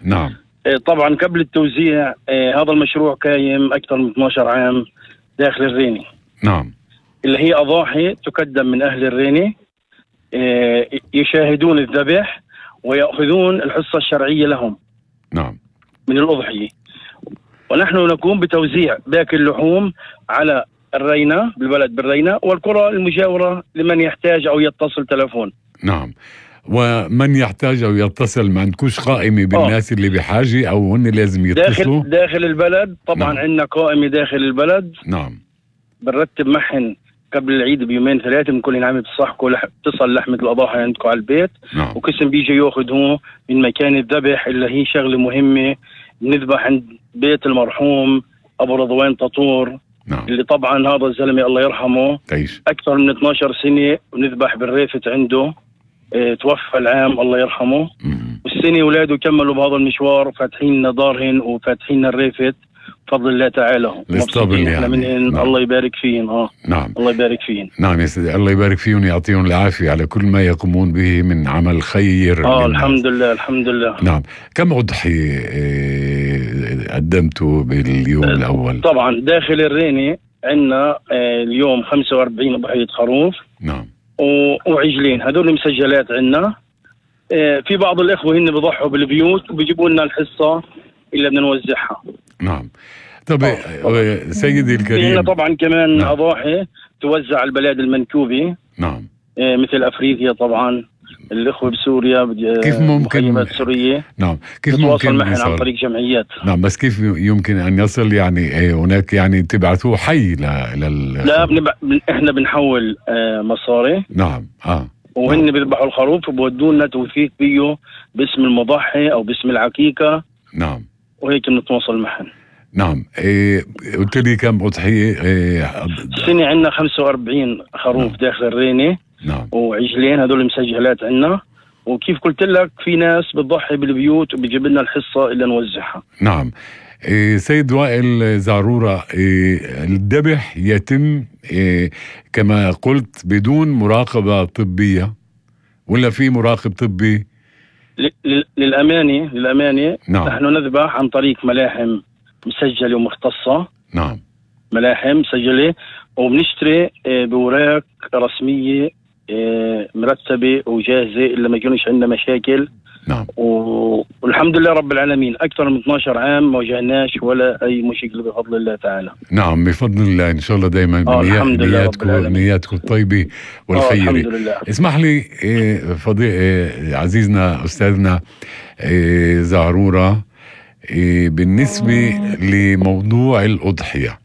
نعم. طبعا قبل التوزيع هذا المشروع قايم أكثر من 12 عام داخل الريني. نعم. اللي هي أضاحي تقدم من أهل الريني، يشاهدون الذبح ويأخذون الحصة الشرعية لهم. نعم. من الأضحية، ونحن نقوم بتوزيع باقي اللحوم على الرينة بالبلد بالرينة والقرى المجاورة لمن يحتاج أو يتصل تلفون. نعم. ومن يحتاج أو يتصل، ما عندكوش قائمة بالناس اللي بحاجة أو هن لازم يتصلوا؟ داخل البلد طبعا. نعم. عندنا قائمة داخل البلد. نعم. بنرتب معهن قبل العيد بيومين ثلاثة بنكون عم بتصحكوا تصل لحمة الأضاحي عندكم على البيت. نعم. وقسم بيجي ياخذوه من مكان الذبح، اللي هي شغلة مهمة. بنذبح عند بيت المرحوم أبو رضوان ططور. نعم. اللي طبعا هذا الزلمة الله يرحمه تعيش أكثر من 12 سنة ونذبح بالريفت عنده. توفى العام الله يرحمه. والسنة أولاده كملوا بهذا المشوار، فاتحين دارهن وفاتحين الريفت بفضل الله تعالى. الاسطبل يعني. نعم. الله يبارك فيهم. نعم. الله يبارك فيهم. نعم يا سيدي، الله يبارك فيهم ويعطيهم العافية على كل ما يقومون به من عمل خير. الحمد لله الحمد لله. نعم. كم أضحية قدمتوا باليوم الأول؟ طبعا داخل الريني عندنا اليوم 45 أضحية خروف. نعم. وعجلين، هذول مسجلات عندنا. في بعض الإخوة هن بيضحوا بالبيوت وبيجيبوا لنا الحصة اللي بدنا نوزعها. نعم. طب سيدي الكريم، طبعا كمان نعم. أضاحي توزع البلاد المنكوبة. نعم. مثل أفريقيا طبعا، الإخوة بسوريا كيف ممكن سورية. نعم. كيف ممكن معهم عن طريق جمعيات. نعم. بس كيف يمكن أن يصل يعني هناك يعني تبعثوه حي لا إحنا بنحول مصاري. نعم. وهن بيذبحوا الخروف وبودونا توثيق بيه باسم المضحي أو باسم العقيقة. نعم. وهيك بنتواصل معهم. نعم. قلت لي كم أضحية؟ السنة عندنا 45 خروف. نعم. داخل الريني. نعم. وعجلين هذول مسجلات عندنا. وكيف قلت لك في ناس بتضحي بالبيوت وبيجيب لنا الحصة اللي نوزعها. نعم. سيد وائل زعرورة، الذبح يتم كما قلت بدون مراقبة طبية ولا في مراقب طبي؟ للأمانة نعم. نحن نذبح عن طريق ملاحم مسجلة ومختصة. نعم. ملاحم مسجلة، وبنشتري بوراق رسمية مرتبة وجاهزة اللي ما يكونش عندنا مشاكل. نعم. والحمد لله رب العالمين أكثر من 12 عام ما واجهناش ولا أي مشكلة بفضل الله تعالى. نعم بفضل الله إن شاء الله دايما نياتكم الطيبة والخيرة. الحمد لله. اسمح لي عزيزنا أستاذنا زعرورة، بالنسبة لموضوع الأضحية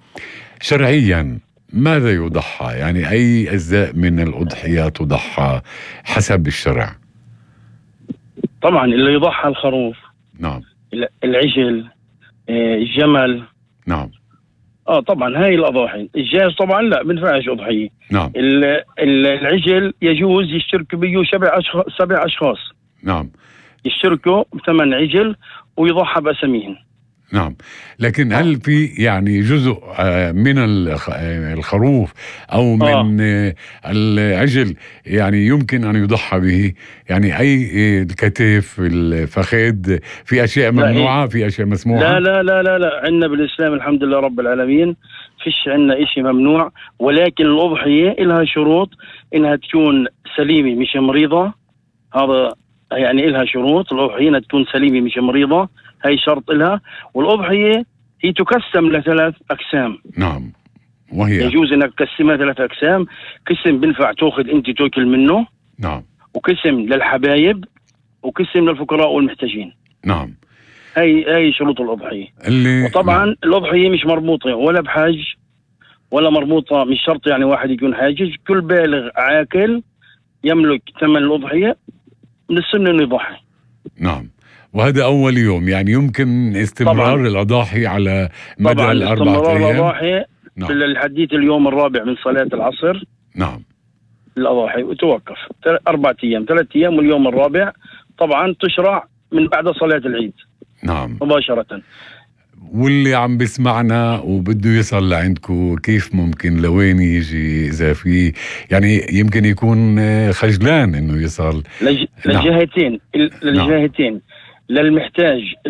شرعيا ماذا يضحى؟ يعني أي أجزاء من الأضحية تضحى حسب الشرع؟ طبعا اللي يضحى الخروف. نعم. العجل، الجمل. نعم. طبعا هاي الأضاحي. الجاز طبعا لا بنفعش أضحية. نعم. العجل يجوز يشترك بيه 7 أشخاص. نعم. يشتركوا بثمن عجل ويضحى بأسميهم. نعم. لكن هل في يعني جزء من الخروف أو من العجل يعني يمكن أن يضحى به؟ يعني أي الكتف، الفخذ، في أشياء ممنوعة، في أشياء مسموحة؟ لا عندنا بالإسلام الحمد لله رب العالمين فيش عندنا إشي ممنوع. ولكن الأضحية إلها شروط إنها تكون سليمة مش مريضة. هذا يعني إلها شروط. الأضحية تكون سليمة مش مريضة، هاي شرط لها. والأضحية هي تقسم ل3 أقسام. نعم. وهي يجوز انك تقسمها 3 أقسام. قسم بنفع تاخذ انت تاكل منه. نعم. وقسم للحبايب، وقسم للفقراء والمحتاجين. نعم. هاي شروط الأضحية. وطبعا نعم. الأضحية مش مربوطة ولا بحج ولا مربوطة، مش شرط يعني واحد يكون حاجج. كل بالغ عاقل يملك ثمن الأضحية من السنة انه يضحي. نعم. وهذا أول يوم يعني يمكن استمرار طبعاً. الأضاحي على مدى طبعاً 4 أيام. الأضاحي في الحديث اليوم الرابع من صلاة العصر. نعم. الأضاحي وتوقف 4 أيام، 3 أيام واليوم الرابع. طبعا تشرع من بعد صلاة العيد. نعم. مباشرة. واللي عم بسمعنا وبده يصل لعندكم كيف ممكن لوين يجي؟ إذا في يعني يمكن يكون خجلان إنه يصل للجهتين. للجهتين. للمحتاج